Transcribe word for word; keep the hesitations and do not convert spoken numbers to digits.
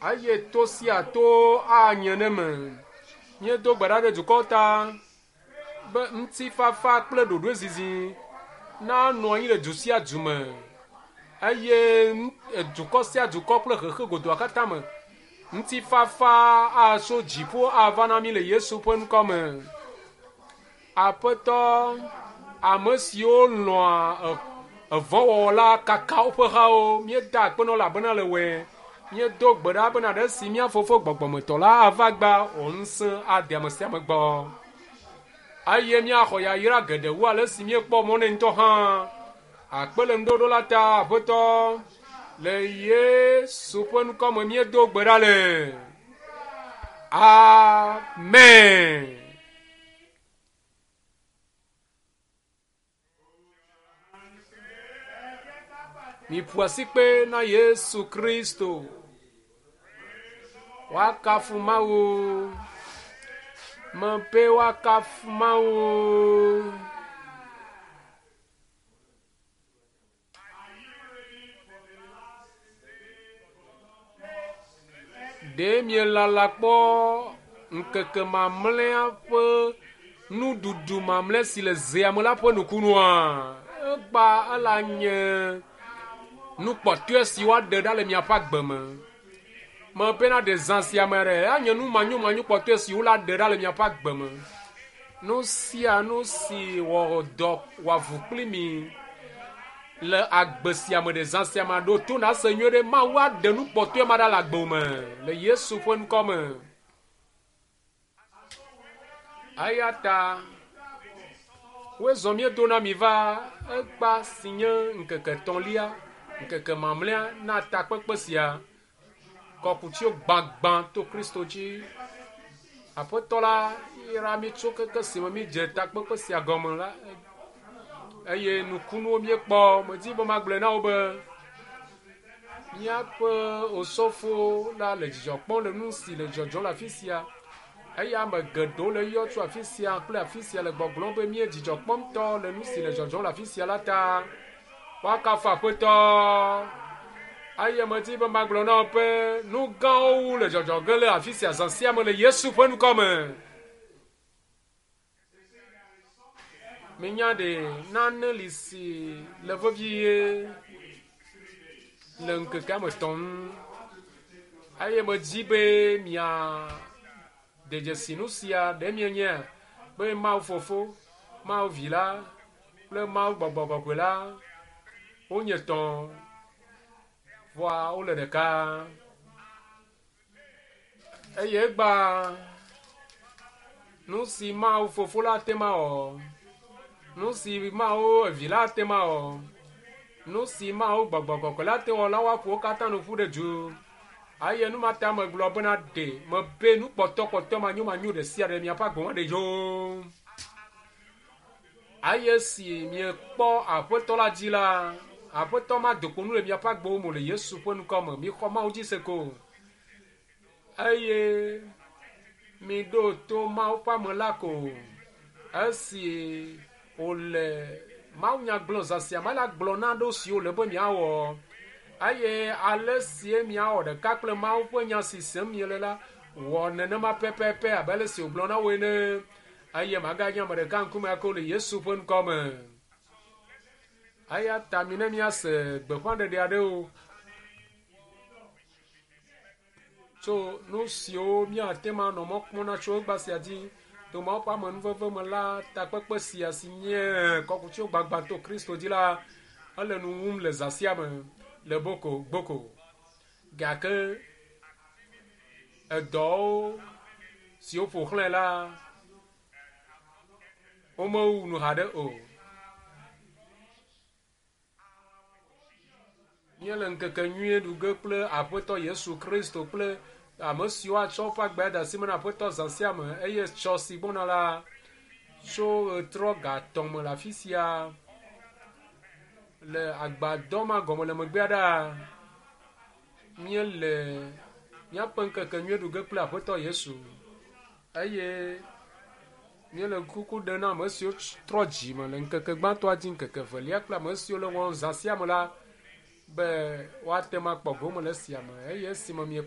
Eye to sia to anye ne me. Míedo gbe ɖa ɖe dukɔwo ta be ŋutifafa kple ɖoɖoezizi nanɔ anyi le du sia du me eye dukɔ sia dukɔ kple xexe godoa katã me. Ŋutifafa atso dziƒo ava na mí le Yesu ƒe ŋkɔ me. Aƒetɔ, ame siwo lɔ̃a evɔ̃wɔwɔ la kaka woƒe hawo. Míeda akpe na wo elabena le wɔe. Míedo gbe ɖa bena ɖe si mía fofo gbɔgbɔmetɔ la ava gba wò ŋusẽ ade ame sia ame gbɔ. Eye míaxɔ yayra geɖe wu ale si míekpɔ mɔ nɛ ŋutɔ hã. Akpe le ŋuɖoɖo la ta, Aƒetɔ, le Yesu ƒe ŋkɔ me míedo gbe ɖa le. Amen. Miƒo asikpe na Yesu Kristo. Woakafu Mawu. Mebe woakafu Mawu. Ɖe mielala kpɔ ŋkeke mamlɛa ƒe nuɖuɖu mamlɛ si le zea me la ƒe nukunua? Egba ela nye nukpɔtɔe si woaɖe ɖa le miaƒe agbe me. Mebena ɖe zã sia me ɖe anye nu manyomanyo kpɔtɔe si wola ɖe ɖa le miaƒe agbe me. Nu sia nu si wɔ dɔ wɔ avu kpli mi le agbe sia me ɖe zã sia me ɖo to na se nyuie ɖe Mawu aɖe nu kpɔtɔe ma ɖa le agbe me le Yesu ƒe ŋkɔ me. Eya ta woezɔ míedo na mi va egba si nye ŋkeke etɔ̃lia, ŋkeke mamlɛa na takpekpe sia. Kɔkutsiwo gbagbã to Kristo dzi. Aƒetɔ la yra mí tso keke si me mídze takpekpe sia gɔme la eye nukunuwo míekpɔ. Medi be magblɔe na wo be míaƒe osɔfo la le dzidzɔ kpɔm le nu si le dzɔdzɔm le afi sia. Eye ame geɖewo le yɔ tso afi sia kple afi sia le gbɔgblɔm be míe dzidzɔ kpɔm ŋutɔ le nu si le dzɔdzɔm le afi sia la ta. Woakafu Aƒetɔ. Eye medi be magblɔ na wo be nu gãwo wu le dzɔdzɔ ge le afi sia zã sia me le Yesu ƒe ŋkɔ me. Minya ɖe nane li si le vevie le ŋkekea me tɔm. Eye medi be mia de dzesi nu sia ɖe mienye be Mawu Fofo, Mawu Vi la kple Mawu Gbɔgbɔ Kɔkɔe la wonye tɔ̃ vɔa wole ɖeka. Eye egba nu si Mawu Fofo la ate ma wɔ, nu si Mawu Vi la ate ma wɔ, nu si Mawu Gbɔgbɔ Kɔkɔe la ate wɔ la woaƒo wo katã nu ƒu ɖe du. Eye nu ma ta megblɔ bena ɖe mebe nu kpɔtɔkpɔtɔ manyomanyo ɖe sia ɖe miaƒe agbe me ɖe dzo. Eye si miekpɔ Aƒetɔ la dzi la, Aƒetɔ ma do kpo nu le miaƒe agbewo me le Yesu ƒe ŋkɔ me. Mixɔ Mawu dzi se ko. Eye miɖo to Mawu ƒe ame la ko. Esi wòle mawunya gblɔm zã sia me la gblɔ na ɖewo siwo le be miawɔ. Eye ale sie miawɔ ɖeka kple Mawu ƒe nya si sem miele la, wɔ nenema pɛpɛpɛ abe ale si wògblɔ na wo ene. Eye maganye ame ɖeka ŋkume ake le Yesu ƒe ŋkɔ me. Eya ta mi ne míase gbeƒãɖeɖe aɖewo tso nu siwo míate ŋu anɔ mɔ kpɔm na tso egba sia dzi to Mawu ƒe amenuveve me la takpekpe sia si nye kɔkutsiwo gbagbã to Kristo dzi la ele nu wum le zã sia me le boko gboko. Gake edɔwo siwo ƒo xlãe la womewu nu haɖe o. Míele ŋkeke nyuie ɖu ge kple Aƒetɔ Yesu Kristo kple ame siwo atsɔ woƒe agbe ade asi me na Aƒetɔ zã sia me eye tsɔ si gbɔna la tso ɣetrɔ ga etɔ̃ me le afi sia le agbadɔ ma gɔme le megbea ɖaa míele míaƒe ŋkeke nyuie ɖu ge kple Aƒetɔ Yesu eye míele kuku ɖem na ame siwo trɔ dzime le ŋkeke gbãtɔa dzi ŋkeke evelia kple ame siwo le wɔm zã sia me la be woate ŋu akpɔ gome le esia me eye esime mie